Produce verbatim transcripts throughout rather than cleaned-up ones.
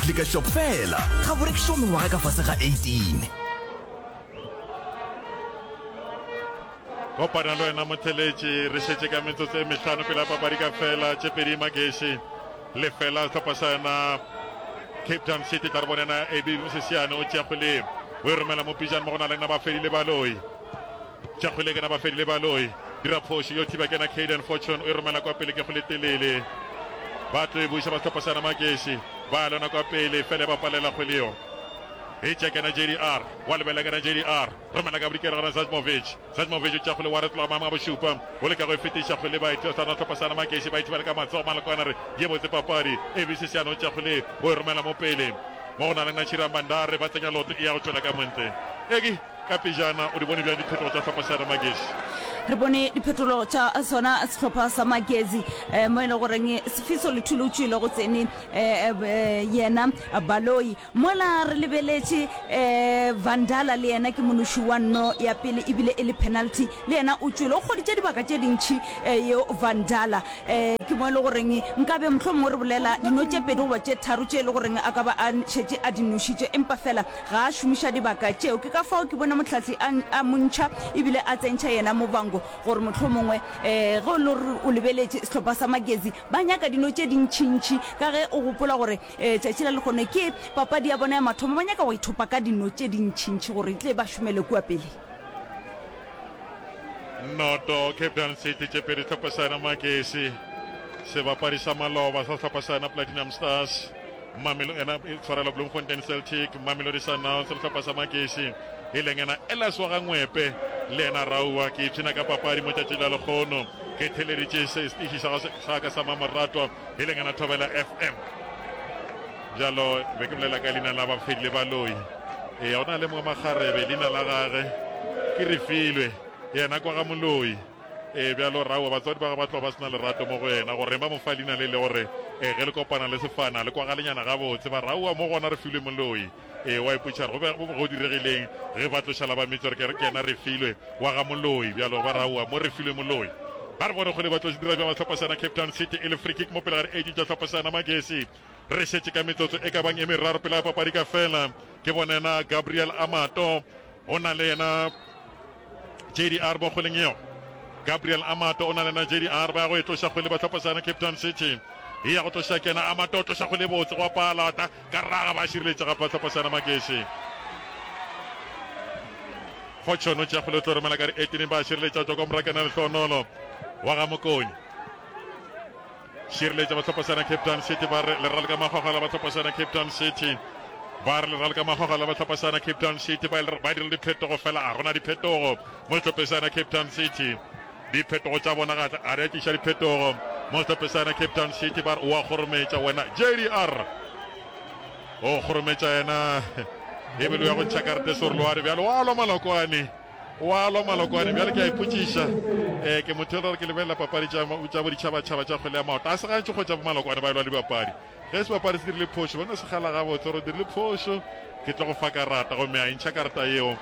Klika shop fela. Ga bo rekišwa mengwaga ka fase ga eighteen. Kopana le wena motheletši, re šetše ka metsotso e mehlano pele papadi ka fela, tše pedi Magesi lefela sehlopha sa yona Cape Town City. Tla re bone yena A B Mosesiane o tšea kgwele o e romela mo pejana mo go na le nna Bafedile Baloi. Tšea kgwele ke na Bafedile Baloi, dira phošo yo thiba ke na Caden Fortune, o e romela kwa pele ke kgwele telele. Ba tlo e buša ba sehlopha sa yona Magesi, ba lona kwa pele fele ba palela kgwele yo. E tšea ke na J D R, wa lebela ke na J D R, romela ka bodikela gona Sajmovic. Sajmovic o tšea kgwele wa retloga maemo a bošupa, o leka go e fetiša kgwele ba e tlosa na sehlopha sa yona Magesi, ba e thibela ka matsogo malokwana re ye botse papadi. A B Sesiane o tšea kgwele o e romela mo pele mo go na le Nachira Bandare, ba tsenya loto e ya go tšwela ka montle. Eki ka pejana o di bone bjang diphetogo tša sehlopha sa yona Magesi? Re bone diphetolo tša sona sehlopha sa Magesi eh, mo e le goreng Sefiso Lethule o tšwile go tsene eh, eh, yena Baloi. Mola re lebeletše eh, Vandala le yena ke monoši wa nno ya pele ebile e le penalty, le yena o tšwile, o kgoditše dibaka tše dintši eh, yeo Vandala eh, ke mo e le goreng nkabe mohlomongwe re bolela dino tše pedi goba tše tharo tše e le goreng a ka ba a šetše a di nošitše, empa fela ga a šomiša dibaka tšeo. Ke ka fao ke bone mohlahli a, a montšha ebile a tsentšha yena Movango gore mohlomongwe eh, ge o le gore o lebeletše sehlopha sa Magesi ba nyaka dino tše dintšintši, ka ge o gopola gore eh, tšatši la lekgono ke papadi ya bona ya mathomo, ba nyaka go ithopa ka dino tše dintšintši gore e tle ba šomele kua pele. Noto Cape Town City tše pedi sehlopha sa yona Magesi, sebapadi sa maloba sa sehlopha sa yona Platinum Stars, Mamelo ena e tshwarela Bloemfontein Celtic, Mamelodi Sundowns le sehlopha sa Magesi e leng ena Elias wa Gangwepe le ena Raua. Ke ipshina ka papadi mo tšatši la lekgono, ke theleditše setiši sa sa ka sa mamoratwa e leng ena Thobela F M. Bjalo be ke bolela ka leina la Bafedile Baloi. Ee, go na le mongwe makgarebe leina la gage ke Refilwe, yena kwa ga Moloi. Ee, bjalo Raua batswadi ba gagwe ba tloga ba sena lerato mo go yena, gore ba mo fa leina le le gore ee ge le kopana le sefana le kwagalenyana gabotse. Ba Raua mo gona Refilwe Moloi. Ee, wa ipotša gore go be go diregileng ge ba tloša la ba metsi gore ke yena Refilwe wa ga Moloi. Bjalo ba Raua mo Refilwe Moloi. Ba re bone kgole ba tlo dira bjang ba sehlopha sa yona Cape Town City e le free kick mo pele ga di-eighteen tša sehlopha sa yona Magesi. Re šetše ka metsotso e ka bang e meraro pele ga papadi ka fela. Ke bone yena Gabriel Amato, o na le yena J D R mo kgweleng yeo. Gabriel Amato o na le yena J D R, ba ya go e tloša kgwele ba sehlopha sa yona Cape Town City. E ya go tloša ke yena Amato, o tloša kgwele e botse go pala ka raga, ba šireletša gape ba sehlopha sa yona Magesi. Fortune o tšea kgwele o tlo romela ka di-eighteen, ba šireletša tšwa kwa morakana Lehlohonolo wa ga Mokoni. Šireletša ba sehlopha sa yona Cape Town City, ba re le raloka magwagwela ba sehlopha sa yona Cape Town City, ba re le raloka magwagwela ba sehlopha sa yona Cape Town City, ba ba dira diphetogo fela a gona diphetogo mo sehlopheng sa yona Cape Town City. Diphetogo tša bona ga ga di a tliša diphetogo mo sehlopheng sa yona Cape Town City. Ba re o a kgorometša wena J D R, o kgorometša yena ebile o ya go ntšha karate Sorloane. Bjalo wa lwa malokwane, wa lwa malokwane. Bjale ke a ipotšiša, eh, ke motho e ke lebelela papadi tša tša boditšhabatšhaba tša kgwele ya maoto, a se gantši kgotsa bo malokwane ba elwa le dibapadi. Ge sebapadi se dirile phošo, ba no se gala gabotse gore o dirile phošo, ke tlo go fa karata, gomme a ntšha karata yeo,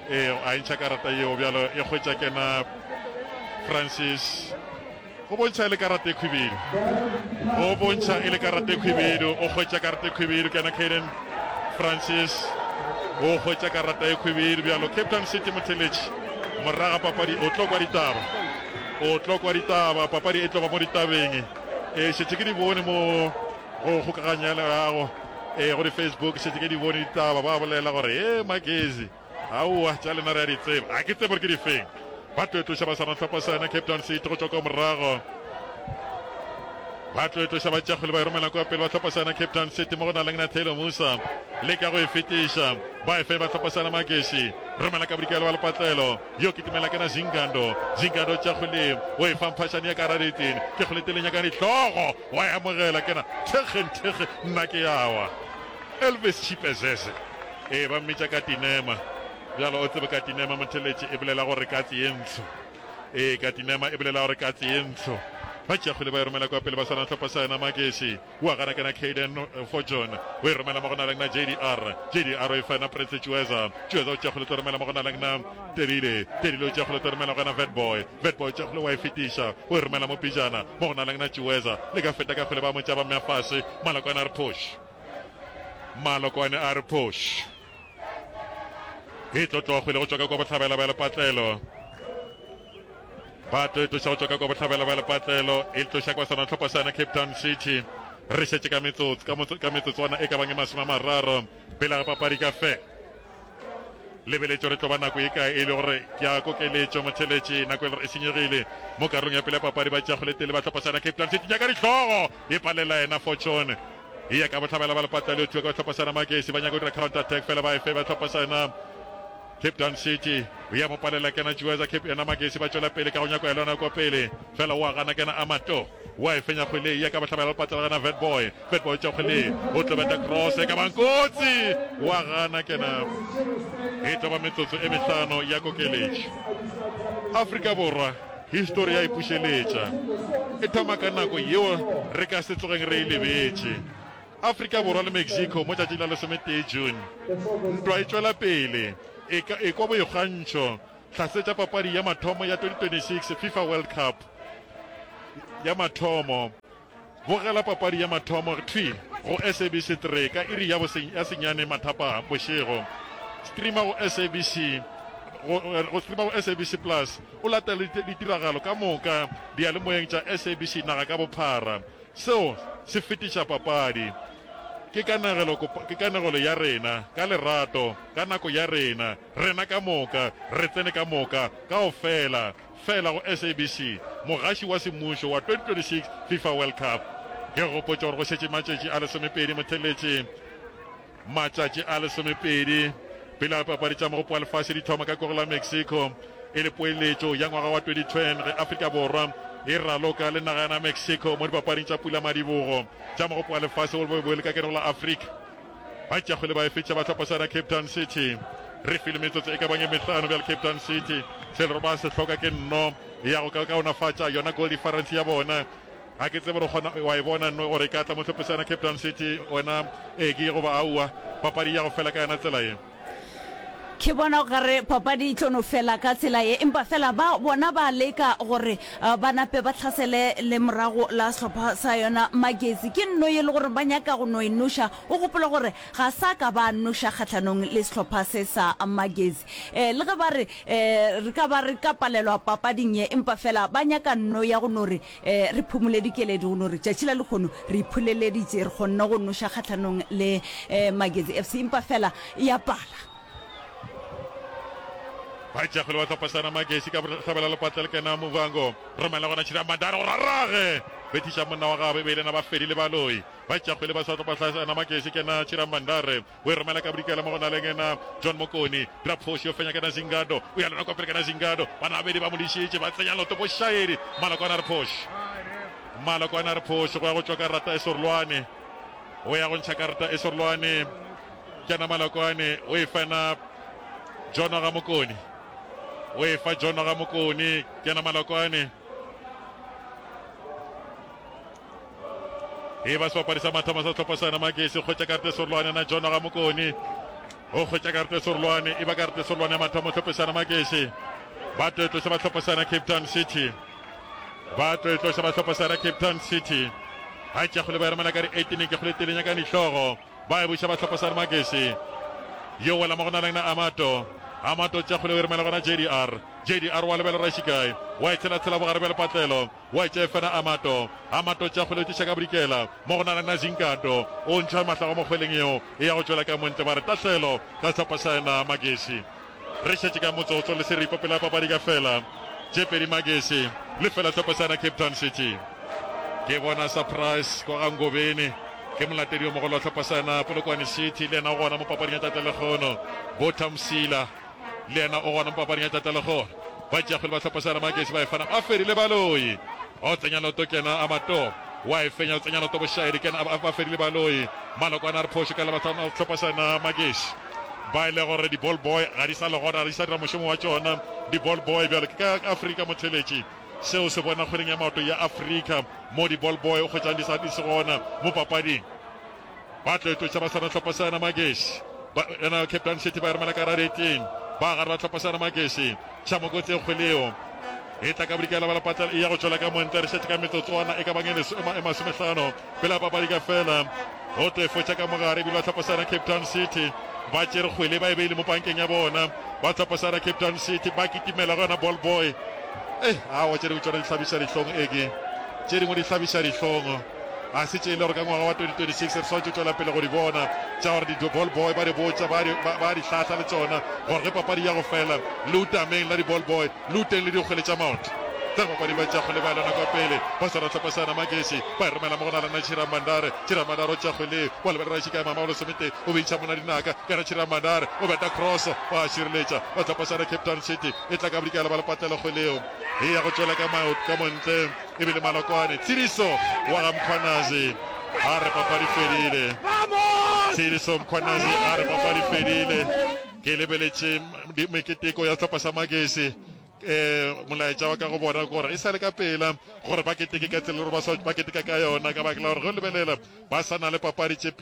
eh, a ntšha karata yeo. Bjalo e kgwetša kena Francis, go bontšha e le karata e khwibidu, go bontšha e le karata e khwibidu, o kgwetša karata e khwibidu kena Caden Francis, o kgwetša karata e khwibidu. Bjalo Cape Town City motheletši moraga papadi o tlo kwa ditaba, o tlo kwa ditaba, papadi e tlo ba mo ditabeng. E šetše ke di bone mo go kgokaganya ya leago, e go di-Facebook šetše ke di bone ditaba, ba bolela gore e Magezi aowa tša lena re a di tseba, a ke tsebe gore ke difeng. Ba tlo e tloša ba swana hlopha sa yona Cape Town City go tšwa kwa morago, ba tlo e tloša ba tšea kgwele ba e romela kwa pele ba hlopha sa yona Cape Town City mo go na leng na Taylor Musa leka go e fetiša, ba e fe ba hlopha sa yona Magesi, romela ka bodikelo wa lepatlelo yo kitimela ke na Zingando, Zingando tšea kgwele o e fa Mphašane ya ka radeteng, ke kgwele teleng ya ka dihlogo wa e amogela ke na thekge nthekge nna ke yawa Elvis Chipezeze, ee ba mmitša ka tinema. Bjalo o tsebe katinema motheletši e bolela gore katse ye ntsho. Ee, katinema e bolela gore katse ye ntsho. Ba tšea kgwele ba e romela kwa pele ba swana hlopha sa yona Magesi. Wa gana kena Caden Fortune. O e romela mo go naleng na J D R. J D R o e fa yena Prince Tšueza. Tšueza o tšea kgwele tlo romela mo go naleng na Tedile. Tedile o tšea kgwele tlo romela go yena Vetboy. Vetboy o tšea kgwele wa e fetiša. O e romela mo pejana mo go naleng na Tšueza. Le ka feta ka kgwele ba mo tšea ba mmea fase. Malokwane a re push. Malokwane a re push. E tlo tloga kgwele go tšwa ka kwa bohlabela bja lepatlelo. Ba tlo e tloša go tšwa ka kwa bohlabela bja lepatlelo, e tloša kwa sona hlopha sa Cape Town City. Re šetše ka metsotso ka motso ka metsotswana e ka bang e masome a mararo pele ga papadi ka fe. Lebeletšo re tlo ba nako e kae e le gore ke a kokeletšo motheletši nako e le gore e senyegile mo karolong ya pele ya papadi ba tšea kgwele tele ba hlopha sa Cape Town City nyaka dihlogo e palela yena Fortune e ya ka bohlabela ba lepatla le thuka ka hlopha sa Magesi ba nyaka go dira counter attack fela ba efe ba hlopha sa Cape Town City o ya mo palela kena Juweza Cape yena Magesi ba tšwela pele ka go nyako ya lona kwa pele fela wa gana kena Amato wa e fenya kgwele ya ka bohlabela lepatla gana Vetboy Vetboy tša kgwele o tlo beta cross e ka bang kotsi wa gana kena e tlo ba metsotso e mehlano ya kokeletšo. Afrika Borwa histori ya ipušeletša e thoma ka nako yeo re ka se tsogeng re e lebetše. Afrika Borwa le Mexico mo tšatšing la lesometee June. Ntwa e tšwela pele e ka e kwa boikgantšho hlasetša papadi ya mathomo ya twenty twenty-six FIFA World Cup ya mathomo. Bogela papadi ya mathomo thwi go S A B C three ka iri ya ya senyane mathapa bošego. Streama go S A B C go, go streama go S A B C Plus o latele ditiragalo ka moka diyalemoyeng tša S A B C naga ka bophara. Seo se fetiša papadi. Ke kanegelo, ke kanegelo ya rena, ka lerato, ka nako ya rena, rena ka moka, re tsene ka moka, kaofela, fela go S A B C, mogaši wa semmušo wa twenty twenty-six FIFA World Cup. Ke gopotša gore go šetše matšatši a lesomepedi motheletše, matšatši a lesomepedi pele ga papadi tša Mogopo wa Lefase di thoma ka kogo la Mexico e le poeletšo ya ngwaga wa twenty ten ge Afrika Borwa e raloka le naga ya Mexico mo dipapading tša pulamadibogo tša Mogopo wa Lefase wo bo le ka kenego la Afrika. Ba tšea kgwele ba e fetša ba hlopha sa Cape Town City. Re file metsotso e ka bang e mehlano bjale Cape Town City se le ba se hloka ke nno ya go ka kaonafatša yona goal difference ya bona. Ga ke tsebe gore kgona wa e bona nno gore e ka tla mo hlophe sa Cape Town City wena Eki goba aowa papadi ya go fela ka yona tsela ye. Ke bona o kare papadi e tlo no fela ka tsela ye, empa fela ba bona ba leka gore ba nape ba hlasele le morago la sehlopha sa yona Magesi. Ke nno ye le gore ba nyaka go no e noša. O gopole gore ga sa ka ba noša kgahlanong le sehlopha se sa Magesi. Le ge ba re re ka ba re ka palelwa papading ye, empa fela ba nyaka nno ya go no re re phumole dikeledi, go no re tšatši la lehono re ipholeleditše, re kgonne go noša kgahlanong le Magesi F C, empa fela e a pala. Ba tšea kgwele ba hlopha sana Magesi ka bohlabela lepatla le kena Muvhango romela gona Tshira Mandara gore rage bethiša monna wa gagwe e be e le na ba fedile baloi. Ba tšea kgwele ba sa hlopha sana Magesi kena Tshira Mandare o e romela ka bodikela mo go na le ngena John Mokoni dira phoši yo fenya kena Zingado o ya lona kwa pele kena Zingado bana babedi ba mo dišitše ba tsenya loto bošaedi Malokwane a re phoši Malokwane a re phoši go ya go tšwa karata e sorolwane o ya go ntšha karata e sorolwane kena Malokwane o e fena John ga Mokoni o e fa John ga Mokoni kena Malokwane e ba sebapadi sa mathomo sa sehlopha sa Magesi kgwetša karate sorolwane na John ga Mokoni o kgwetša karate sorolwane e ba karate sorolwane ya mathomo sehlopha sa Magesi ba tlo tloša ba hlopha sa Cape Town City ba tlo tloša ba hlopha sa Cape Town City ga tša kgole ba remela ka di eighteen ke kgole telenya ka dihlogo ba e buša ba hlopha sa Magesi yo wela mo go na leng na Amato Amato tša kgole o remela gona J D R J D R wa lebela Rashikai wa e tshela tshela bogare bja lepatlelo wa e tšea fena Amato Amato tša kgole o tliša ka bodikela mo go na leng na Zinkato o ntšha mahlago mo kgweleng yeo e ya go tšwela ka montle ba re tahlelo ka sehlopha sa yena Magesi. Re šetše ka motsotso le seripa pele ga papadi ka fela tše pedi Magesi le fela sehlopha sa yena Cape Town City. Ke bona surprise kwa ga Ngobeni ke molatedi yo mogolo wa sehlopha sa yena Polokwane City le yena o gona mo papading ya tata lekgono. Botha Msila le yena o gona mo papading ya tata lekgono. Ba tšea kgwele ba sehlopha sa yena Magesi ba e fana ba fedile baloi. O tsenya loto kena Amato wa e fenya o tsenya loto bošaedi kena ba fedile baloi. Malokwane a re phošo ka lebaka la sehlopha sa yena Magesi. Ba e le gore di ball boy ga di sa le gona, ga di sa dira mošomo wa tšona di ball boy bjalo ke ka Afrika motheletši. Seo se bona kgweding ya maoto ya Afrika mo di ball boy o kgwetšang di sa di se gona mo papading. Ba tlo tloša ba swana hlopha sa yena Magesi. Ba yena Cape Town City ba e romela ka rareteng. Ba gare ba hlopha sa yena Magesi. Tšhamokotse kgwele eo. E tla ka bodikela ba lepatla, e ya go tšwela ka montle. Re šetše ka metsotswana e ka bang e e masomehlano pele papadi ka fela. Go tefo tša ka mogare ebile ba tlhopha sana Cape Town City ba tšere kgwele, ba e beile mo pankeng ya bona. Ba tlhopha sana Cape Town City ba kitimela go yona ball boy. Eh, aowa, tše dingwe tšona di hlabiša dihlong, eke tše dingwe di hlabiša dihlong. A se tše e le gore ka ngwaga wa twenty twenty-six re swanetše tšwela pele go di bona tša gore di-ball boy ba di botša, ba di hlahla le tšona gore ge papadi ya go fela le utameng la di-ball boy, le uteng le dikgwele tša maoto. Tsa papadi ba tša kgwele ba lona kwa pele, ba swara tlhopha sana Magesi, ba e romela mo go na lena Chira Mandare. Chira Mandare o tša kgwele wa lebelela šika mama wa lesomete, o bentšha mona dinaka ka re Chira Mandare o beta cross, wa šireletša ba tlhopha sana Cape Town City. E tla ka bodikela ba lepatlela kgweleo e ya go tšwela ka ka montle ebile Malokwane. Tshediso wa ga Mkhwanazi a re papadi fedile. Tshediso Mkhwanazi a re papadi fedile. Ke lebeletše meketeko ya sehlopha sa Magesi. um molaetša wa ka go bona gore e sa le ka pela gore ba keteke ka tsela gore ba keteka ka yona, ka baka la gore ge o lebelela ba sa na le papadi tše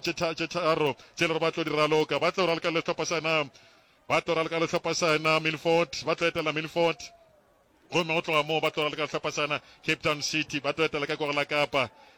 tharo tše le gore ba tlo di raloka. Ba tlo raloka le sehlopha sa ba tlo raloka le sehlopha sa Milford, ba tlo etela Milford, gomme go tloga moo ba tlo raloka le sehlopha sa Cape Town City, ba tlo etela ka kwa go la Kapa.